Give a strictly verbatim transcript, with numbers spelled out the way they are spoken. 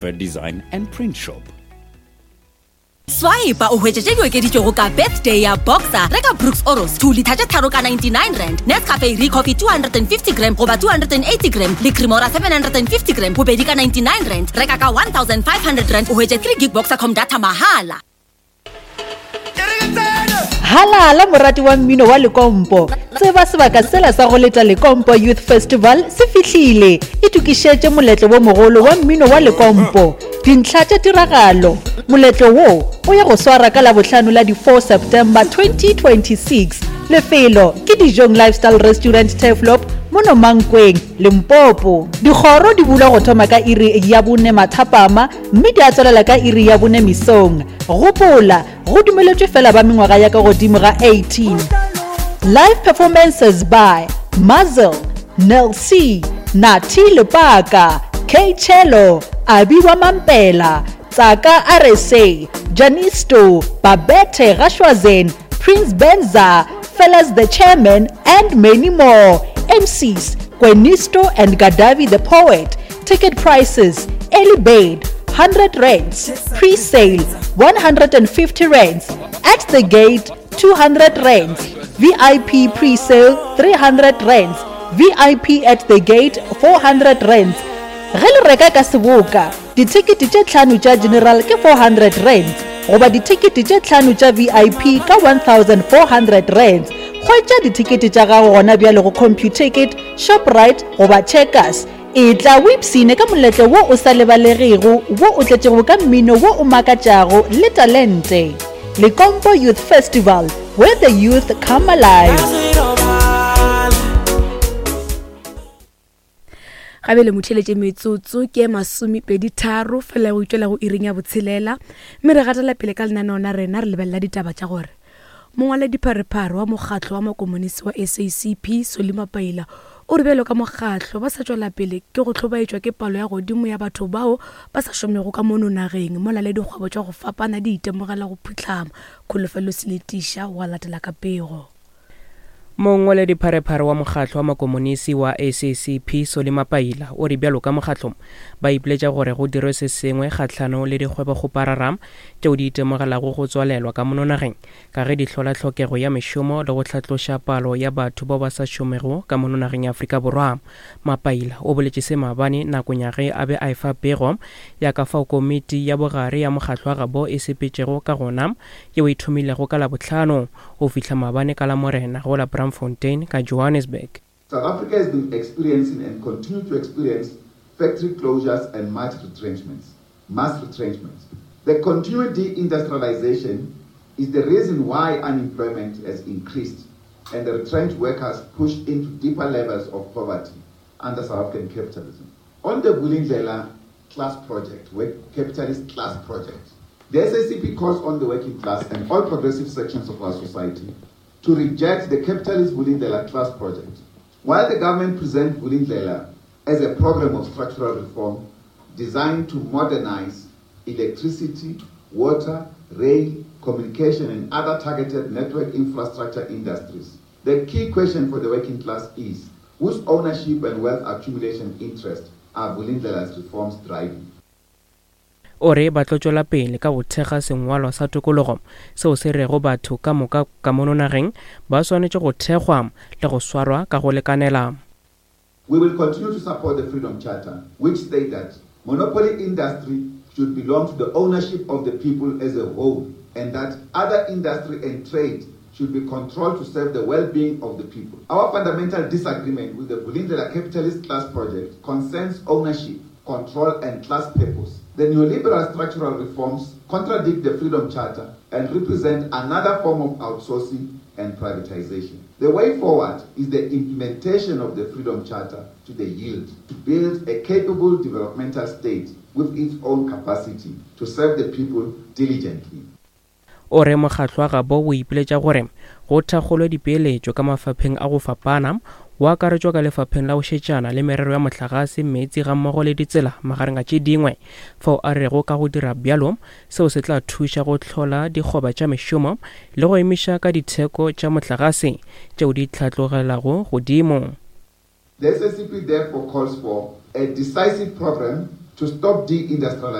Design and Print Shop. Swipe o hwetše tše di okeditšwego ka birthday ya Boxer. Reka Brooks Oros two litre tše tharo ka ninety-nine rand, Nescafe Recoffee two hundred and fifty gram goba two hundred and eighty gram le Cremora seven hundred and fifty gram bobedi ka ninety-nine rand. Reka ka one thousand five hundred rand o hwetše three gig Boxercom data mahala. Halala morati wa mmino wa Lekompo, tseba sebaka sela sa go leta Lekompo Youth Festival se fihlile. Itokišetše moletlo wo mogolo wa mmino wa Lekompo. Dintlha tša tiragalo: moletlo wo o ya go swara ka Labohlano la di four September twenty twenty-six. Lefelo ke Dijong Lifestyle Restaurant, Turfloop, mono Mankweng, Limpopo. Dikgoro di bulwa go thoma ka iri ya bone mathapama mme di a tswelela ka iri ya bone mesong. Gopola, go dumeletšwe fela ba mengwaga ya ka godimo ga eighteen. Live performances by Muzzle, Nel C, Nati Lepaka, K Cello, Abiwa Mampela, Tsaka R S A, Janisto, Babette Gashwazen, Prince Benza, Fellas the Chairman, and many more. M Cs Kwenisto and Gadavi the Poet. Ticket prices: early bird one hundred rands, pre-sale one hundred fifty rands, at the gate two hundred rands, V I P pre-sale three hundred rands, V I P at the gate four hundred rands. Ge le reka ka seboka, dithekete tše tlhano tša general ke four hundred rands goba dithekete tše tlhano tša V I P ka one thousand four hundred rands. Hwetša dithekete tša gago gona bjale go Computicket, Shoprite goba Checkers. Etla o ipshine ka moletlo wo o sa lebalegego wo o tletšego ka mmino wo o makatšago le talente. Lekompo Youth Festival, where the youth come alive. Gabele motheletše, metsotso ke masomepedi tharo fela go itšwela go iring ya botshelela, mme re gatela pele ka lenaneo la rena. Re lebelela ditaba tša gore mongwaledipharephare wa mokgatlo wa makomonisi wa S A C P, Solly Mapaila, o re bjalo ka mokgatlo ba sa tšwela pele ke go hlobaetšwa ke palo ya godimo ya batho bao ba sa šomego ka mono nageng, mola le dikgwebo tša go fapana di itemogela go phuhlama. Kholofelo Seletiša wa latela ka pego. Mongwaledipharephare wa mokgatlo wa makomonisi wa S A C P, Solly Mapaila, o re bjalo ka mokgatlo ba ipiletša gore go dirwe se sengwe kgahlano le dikgwebokgoparara tšeo di itemogelago go tswalelwa ka mono nageng, ka ge di hlola tlhokego ya mešomo le go hlatloša palo ya batho bao ba sa šomego ka mono nageng ya Afrika Borwa. Mapaila o boletše se maabane nakong ya ge a be a efa pego ya ka fao komiti ya bogare ya mokgatlo wa gabo e sepetšego ka gona, yeo e thomilego ka Labohlano go fihla maabane ka Lamorena go la Braamfontein ka Johannesburg. South Africa has been experiencing and continue to experience factory closures and mass retrenchments. Mass retrenchments. The continued deindustrialization is the reason why unemployment has increased and the retrenched workers pushed into deeper levels of poverty under South African capitalism. On the Vulindlela class project, capitalist class project, the S A C P calls on the working class and all progressive sections of our society to reject the capitalist Vulindlela class project. While the government presents Vulindlela as a program of structural reform designed to modernize electricity, water, rail, communication, and other targeted network infrastructure industries, the key question for the working class is whose ownership and wealth accumulation interest are Vulindlela's reforms driving? O re ba tlo tšwela pele ka go thekga sengwalwa sa tokologo seo se rego batho ka moka ka mono nageng ba swanetše go thekgwa le go swarwa ka go lekanela. We will continue to support the Freedom Charter, which states that monopoly industry should belong to the ownership of the people as a whole and that other industry and trade should be controlled to serve the well-being of the people. Our fundamental disagreement with the Vulindlela capitalist class project concerns ownership, control and class purpose. The neoliberal structural reforms contradict the Freedom Charter and represent another form of outsourcing and privatization. The way forward is the implementation of the Freedom Charter to the hilt, to build a capable developmental state with its own capacity to serve the people diligently. O re mokgatlo wa gabo o ipiletša gore go thakgolwe dipeeletšo ka mafapheng a go fapana, go akaretšwa ka lefapheng la go šetšana le merero ya mohlagase, meetse gammogo le ditsela, magareng a tše dingwe, fao a rego ka go dira bjalo seo se tla thuša go hlola dikgoba tša mešomo le go emiša ka ditheko tša mohlagase tšeo di hlatlogelago godimo. The S A C P therefore calls for a decisive program to stop deindustrialization.